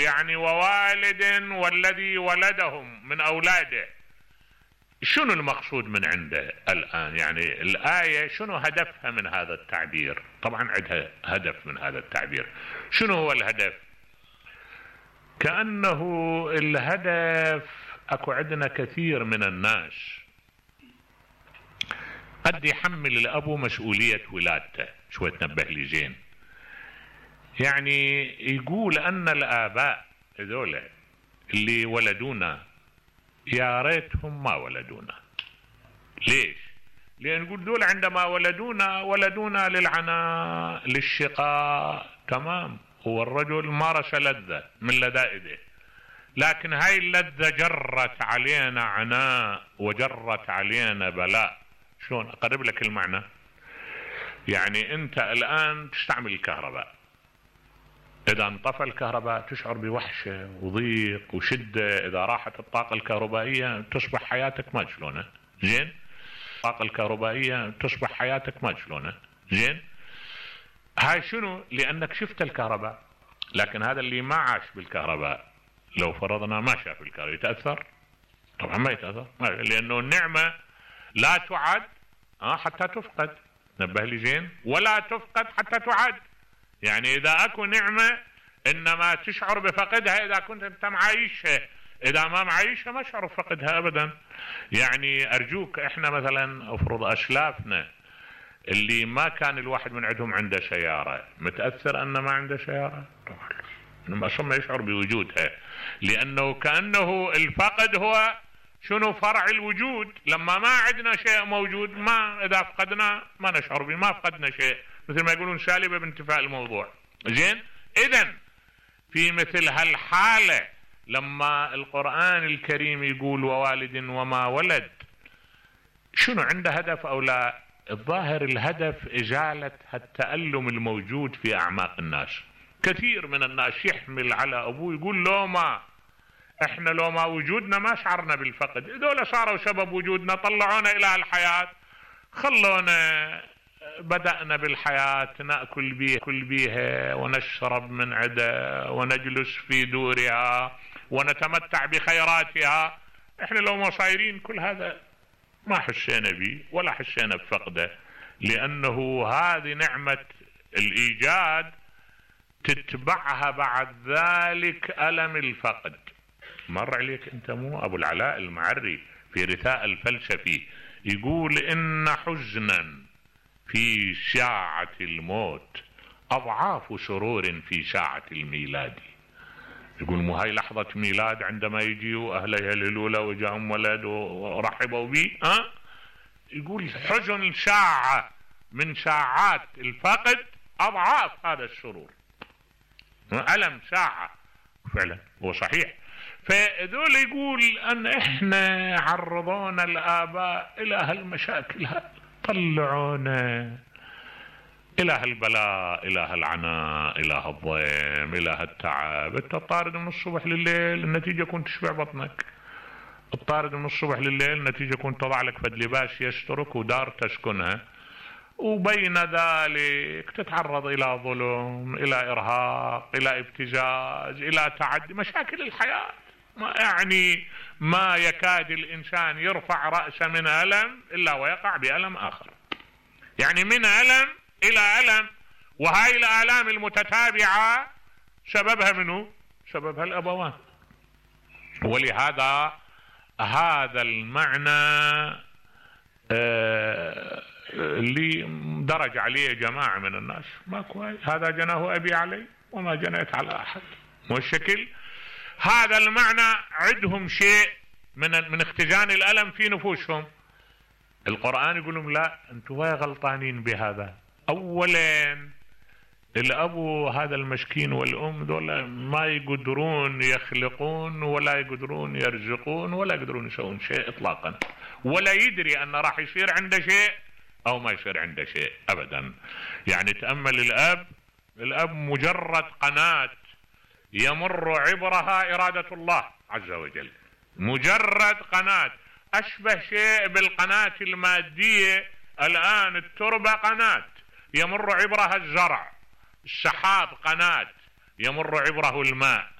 يعني ووالد والذي ولدهم من أولاده. شنو المقصود من عنده الآن؟ يعني الآية شنو هدفها من هذا التعبير؟ طبعا عندها هدف من هذا التعبير. شنو هو الهدف؟ كأنه الهدف اكو عندنا كثير من الناس قد يحمل الأب مسؤولية ولادته. شوي تنبه لي زين. يعني يقول أن الآباء هذول اللي ولدونا يا ريتهم ما ولدونا. ليش؟ لأن يقول دول عندما ولدونا للعناء للشقاء، تمام، هو الرجل مارس لذة من لذائذه، لكن هاي اللذة جرت علينا عناء وجرت علينا بلاء. شلون أقرب لك المعنى؟ يعني أنت الآن تستعمل الكهرباء، إذا انطفى الكهرباء تشعر بوحشة وضيق وشدة. إذا راحت الطاقة الكهربائية تصبح حياتك ما شلونها زين. الطاقة الكهربائية تصبح حياتك ما شلونها زين. هاي شنو؟ لأنك شفت الكهرباء. لكن هذا اللي ما عاش بالكهرباء لو فرضنا ما شاف الكهرباء يتأثر؟ طبعا ما يتأثر، لأنه النعمة لا تعد حتى تفقد. نبه لي زين، ولا تفقد حتى تعد. يعني إذا أكو نعمة إنما تشعر بفقدها إذا كنت أنت معايشها، إذا ما معايشها ما شعر بفقدها أبدا. يعني أرجوك، إحنا مثلا أفرض أسلافنا اللي ما كان الواحد من عندهم عنده سيارة، متأثر أنه ما عنده سيارة؟ طبعا ما أصلا يشعر بوجودها، لأنه كأنه الفقد هو شنو؟ فرع الوجود. لما ما عندنا شيء موجود، ما إذا فقدنا ما نشعر به، ما فقدنا شيء، مثل ما يقولون سالبة بانتفاء الموضوع زين. إذن في مثل هالحالة لما القرآن الكريم يقول ووالد وما ولد، شنو عنده هدف أو لا؟ الظاهر الهدف إزالة التألم الموجود في أعماق الناس. كثير من الناس يحمل على أبوه يقول لو ما احنا لو ما وجودنا ما شعرنا بالفقد، هذول صاروا سبب وجودنا، طلعونا إلى الحياة، خلونا بدأنا بالحياة نأكل بيها ونشرب من عدا ونجلس في دورها ونتمتع بخيراتها. احنا لو ما صايرين كل هذا ما حسينا به ولا حسينا بفقده، لأنه هذه نعمة الإيجاد تتبعها بعد ذلك ألم الفقد. مر عليك أنت مو أبو العلاء المعري في رثاء الفلسفي يقول إن حزنا في ساعة الموت أضعاف سرور في ساعة الميلاد. يقول مو هاي لحظة ميلاد عندما يجيوا أهله يهللوا له وجاءهم ولد ورحبوا به، يقول حزن ساعة من ساعات الفقد أضعاف هذا السرور. ألم ساعة فعلا هو صحيح. فذول يقول أن إحنا عرضونا الآباء إلى هالمشاكل، طلعونا إلى هالبلاء، إلى هالعناء، إلى هالضيم، إلى هالتعب. أنت طارد من الصبح لليل، النتيجة كنت تشبع بطنك. الطارد من الصبح لليل، النتيجة كنت تضع لك فد لباس يسترك ودار تسكنها، وبين ذلك تتعرض إلى ظلم، إلى إرهاق، إلى ابتزاز، إلى تعدي، مشاكل الحياة. يعني ما يكاد الإنسان يرفع رأسه من ألم إلا ويقع بألم آخر، يعني من ألم إلى ألم. وهاي الآلام المتتابعة سببها منه؟ سببها الأبوان. ولهذا هذا المعنى اللي درج عليه جماعة من الناس ما كويس، هذا جناه أبي علي وما جنيت على أحد، مو الشكل. هذا المعنى عندهم شيء من اختزان الألم في نفوسهم. القرآن يقول لهم لا، أنتم غلطانين بهذا. أولا الأبو هذا المسكين والأم دول ما يقدرون يخلقون ولا يقدرون يرزقون ولا يقدرون يسوون شيء إطلاقا، ولا يدري أن راح يصير عنده شيء أو ما يصير عنده شيء أبدا. يعني تأمل الأب مجرد قناة يمر عبرها إرادة الله عز وجل، مجرد قناة، أشبه شيء بالقناة المادية. الآن التربة قناة يمر عبرها الزرع، السحاب قناة يمر عبره الماء،